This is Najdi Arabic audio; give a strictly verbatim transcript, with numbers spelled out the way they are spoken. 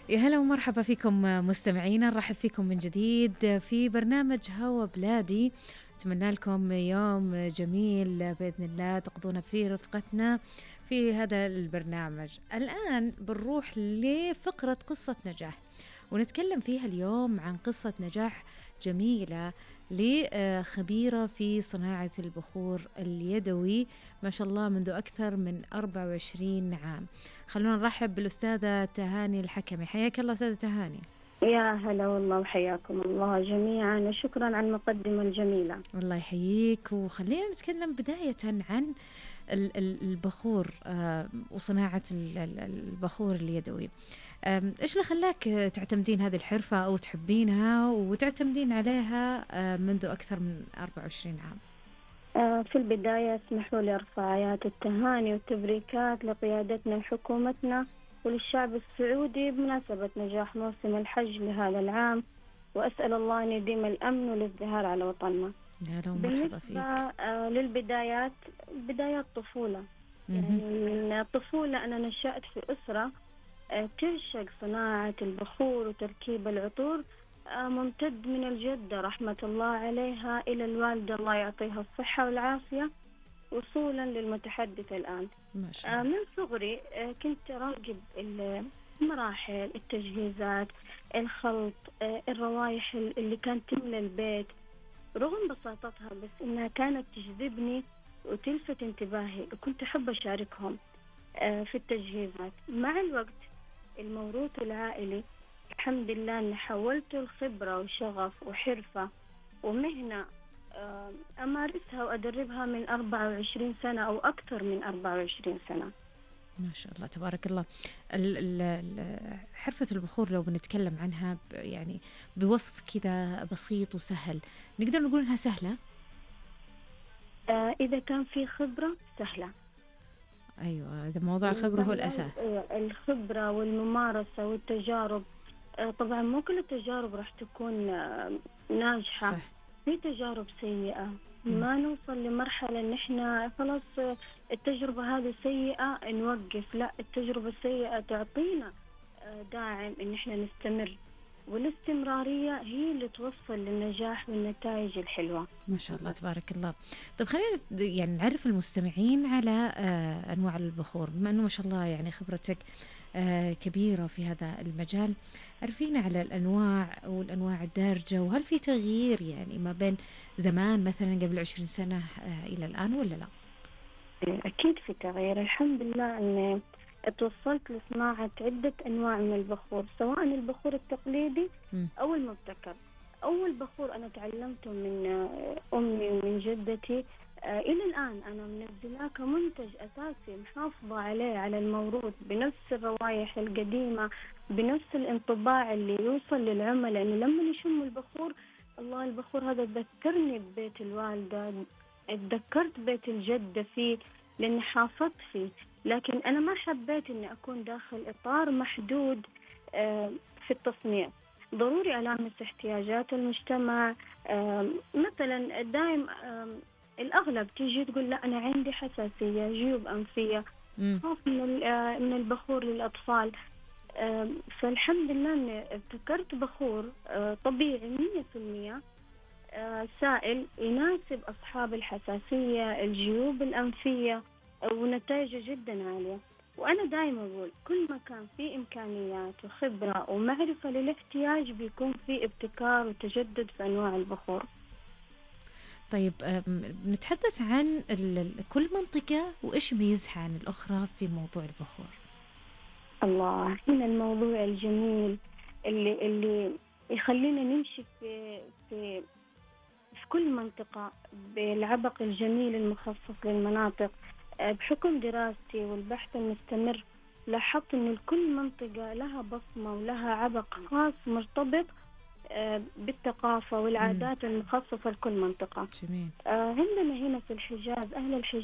يا هلا ومرحبا فيكم مستمعينا، نرحب فيكم من جديد في برنامج هوا بلادي. أتمنى لكم يوم جميل بإذن الله تقضون فيه رفقتنا في هذا البرنامج. الآن بنروح لفقرة قصة نجاح، ونتكلم فيها اليوم عن قصة نجاح جميلة لخبيرة في صناعة البخور اليدوي ما شاء الله منذ أكثر من أربعة وعشرين عام. خلونا نرحب بالأستاذة تهاني الحكمي. حياك الله أستاذة تهاني. يا هلا والله وحياكم الله جميعا، وشكرا على المقدمة الجميلة. الله يحييك، وخلينا نتكلم بداية عن البخور وصناعة البخور اليدوي. إيش اللي خلاك تعتمدين هذه الحرفة أو تحبينها وتعتمدين عليها منذ أكثر من أربعة وعشرين عام؟ في البداية اسمحوا لي أرفع آيات التهاني والتبريكات لقيادتنا وحكومتنا وللشعب السعودي بمناسبة نجاح موسم الحج لهذا العام، وأسأل الله أن يديم الأمن والازدهار على وطننا. بالنسبة للبدايات، بدايات طفولة، يعني من الطفولة أنا نشأت في أسرة تعشق صناعة البخور وتركيب العطور، ممتد من الجدة رحمة الله عليها إلى الوالدة الله يعطيها الصحة والعافية، وصولا للمتحدث الآن. ما شاء الله. من صغري كنت راقب المراحل، التجهيزات، الخلط، الروايح اللي كانت تملى البيت، رغم بساطتها بس إنها كانت تجذبني وتلفت انتباهي، وكنت أحب أشاركهم في التجهيزات. مع الوقت الموروث العائلي الحمد لله أن حولته الخبرة وشغف وحرفة ومهنة أمارسها وأدربها من أربعة وعشرين سنة أو أكثر من أربعة وعشرين سنة. ما شاء الله تبارك الله. حرفة البخور لو بنتكلم عنها يعني بوصف كذا بسيط وسهل، نقدر نقول إنها سهلة؟ آه إذا كان في خبرة سهلة. أيوة، إذا موضوع الخبرة هو الأساس. الخبرة والممارسة والتجارب. آه طبعا مو كل التجارب راح تكون آه ناجحة. صح. في تجارب سيئة ما نوصل لمرحلة إن إحنا خلاص التجربة هذه سيئة نوقف، لا، التجربة السيئة تعطينا داعم إن إحنا نستمر، والاستمرارية هي اللي توصل للنجاح والنتائج الحلوة. ما شاء الله تبارك الله. طيب خلينا يعني نعرف المستمعين على أنواع البخور، بما أنه ما شاء الله يعني خبرتك كبيرة في هذا المجال. عرفينا على الأنواع والأنواع الدارجة، وهل في تغيير يعني ما بين زمان مثلا قبل عشرين سنة إلى الآن ولا لا؟ أكيد في تغيير، الحمد لله أن توصلت لصناعة عدة أنواع من البخور، سواء البخور التقليدي م. أو المبتكر. أول بخور أنا تعلمته من أمي ومن جدتي آه إلى الآن أنا منزلاه كمنتج أساسي، محافظة عليه على الموروث بنفس الروايح القديمة، بنفس الانطباع اللي يوصل للعملاء، إنه لما يشموا البخور الله البخور هذا ذكرني ببيت الوالدة، اتذكرت بيت الجدة فيه لأني حافظت فيه. لكن أنا ما حبيت إني أكون داخل إطار محدود آه في التصنيع، ضروري ألامس احتياجات المجتمع. آه مثلا دائم آه الأغلب تيجي تقول لا أنا عندي حساسية، جيوب أنفية، خاف من من البخور للأطفال. فالحمد لله إني ابتكرت بخور طبيعي مية في المية سائل يناسب أصحاب الحساسية، الجيوب الأنفية، ونتائجه جدا عالية. وأنا دائما أقول كل ما كان في إمكانيات وخبرة ومعرفة للاحتياج بيكون في ابتكار وتجدد في أنواع البخور. طيب نتحدث عن كل منطقة وإيش يميزها عن الأخرى في موضوع البخور. الله، هنا الموضوع الجميل اللي اللي يخلينا نمشي في في في كل منطقة بالعبق الجميل المخصص للمناطق. بحكم دراستي والبحث المستمر لاحظت إن كل منطقة لها بصمة ولها عبق خاص مرتبط بالثقافة والعادات المخصصة لكل منطقة. جميل. عندنا هنا في الحجاز، أهل الحجاز